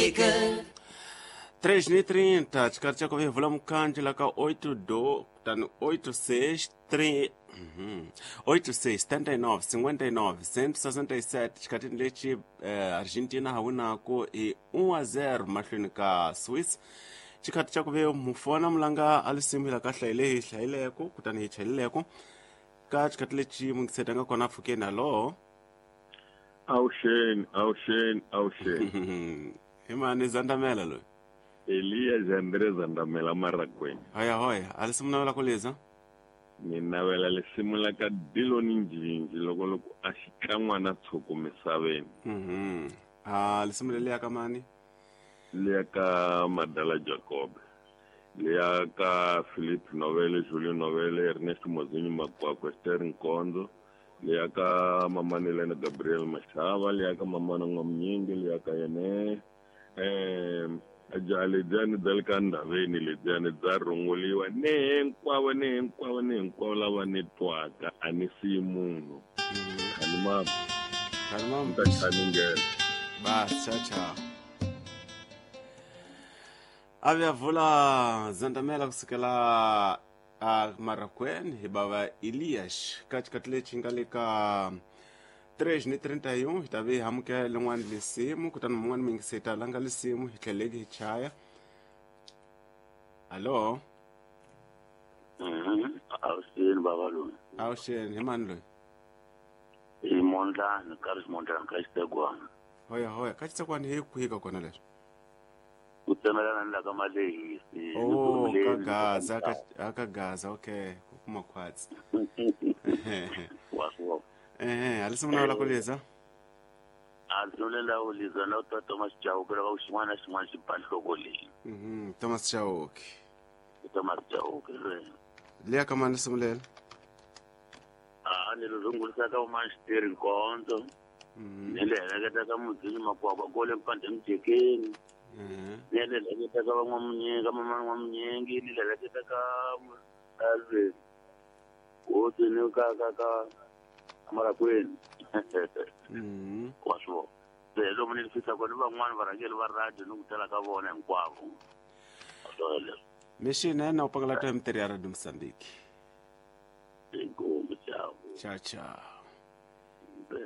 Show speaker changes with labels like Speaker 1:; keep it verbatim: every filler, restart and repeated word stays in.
Speaker 1: Moçambique.
Speaker 2: três e trinta, xikarhi xa ku vevula mukhandlu la ka oito do kutani oito seis três oito seis setenta e nove cinquenta e nove cento e sessenta e sete xikhatini lexi eh, Argentina ha winaku hi um a zero mahlweni ka Swiss. Xikhathi xa ku ve mufona mulanga a lisimu hi la ka hlayile hi hlayileko kutani hi chelileko ka xikhathi lexi mungiseta nga kona pfukeni hallo.
Speaker 3: Awuxeni, awuxeni, awuxeni.
Speaker 2: Hi mani Zandamela loyi?
Speaker 3: Elias Andre Zandamela Maragweni.
Speaker 2: Hoya hoya, a lisimu navela ku liza?
Speaker 3: Ni navela lisimu la ka Diloni Njinji loko loko a xikan'wana tshuku misaveni.
Speaker 2: Mhm. Ah, lisimu leliya ka mani?
Speaker 3: Liya ka Madala Jacob. Liya ka Philip Novele, Julio Novele, Ernest Mozinho Makwakwa, Esther Nkonzo. Liya ka Mamani Lena Gabriel Mashava, liya ka Mamana N'wamnyingi, liya ka yene eh jaha lediyani bya le ka ndhaveni lediyani bya rhunguliwa ni hinkwavo ni hinkwavo ni hinkwavo lava ni twaka a ni siyi munhu. Khalimama.
Speaker 2: Khalimama.
Speaker 3: Ni ta khaningela.
Speaker 2: Bas, tchau, tchau. A vula Zandamela kusukela a Marrakweni hi bava Elias ka xikhathi lexi nga le ka três e trinta e um hi ta ve hi amukela lin'wana lisimu kutani mun'wana mi yingiseta langa lisimu hi tlheleke hi chaya. Hallo.
Speaker 4: Mhm. Awuxeni bava loyi.
Speaker 2: Awuxeni, hi mani loyi?
Speaker 4: I Mondlani, ka ri Mondlani ka Xitekwana.
Speaker 2: Hoya hoya, ka Xitekwana hi kwihi ka kona leswi?
Speaker 4: Ku tsemelana ni la ka Malehisi.
Speaker 2: Oh, ka Gaza, ka ka Gaza, okay, ku kuma khwatsi.
Speaker 4: Wa swo.
Speaker 2: Eh, a lisimu navela ku liza?
Speaker 4: A lisimu leri la ku liza na ta Thomas Chauke lava ku xin'wana na xin'wana xi ba nhloko leyi.
Speaker 2: Mhm, Thomas Chauke.
Speaker 4: Thomas Chauke re.
Speaker 2: Liya ka mani lisimu leri?
Speaker 4: A ni ri rungulisa ka Mani Xiteri Nkonzo.
Speaker 2: Mhm.
Speaker 4: Ni le heleketa ka Mudzini Makwakwa kole Mpande Mjekeni.
Speaker 2: Mhm.
Speaker 4: Ni le heleketa ka van'wamunyingi, mama N'wamunyingi, ni le heleketa ka Alvin. Hosi ni ka ka ka Marrakweni.
Speaker 2: Mhm.
Speaker 4: Wa swo. Se lomu ni fisa kona van'wana varhangeri va radio ni ku tala ka vona hinkwavo.
Speaker 2: Mixini na u pangala to ya mitirho ya Radio Mozambique.
Speaker 4: Inkomu, ciao.
Speaker 2: Ciao, ciao.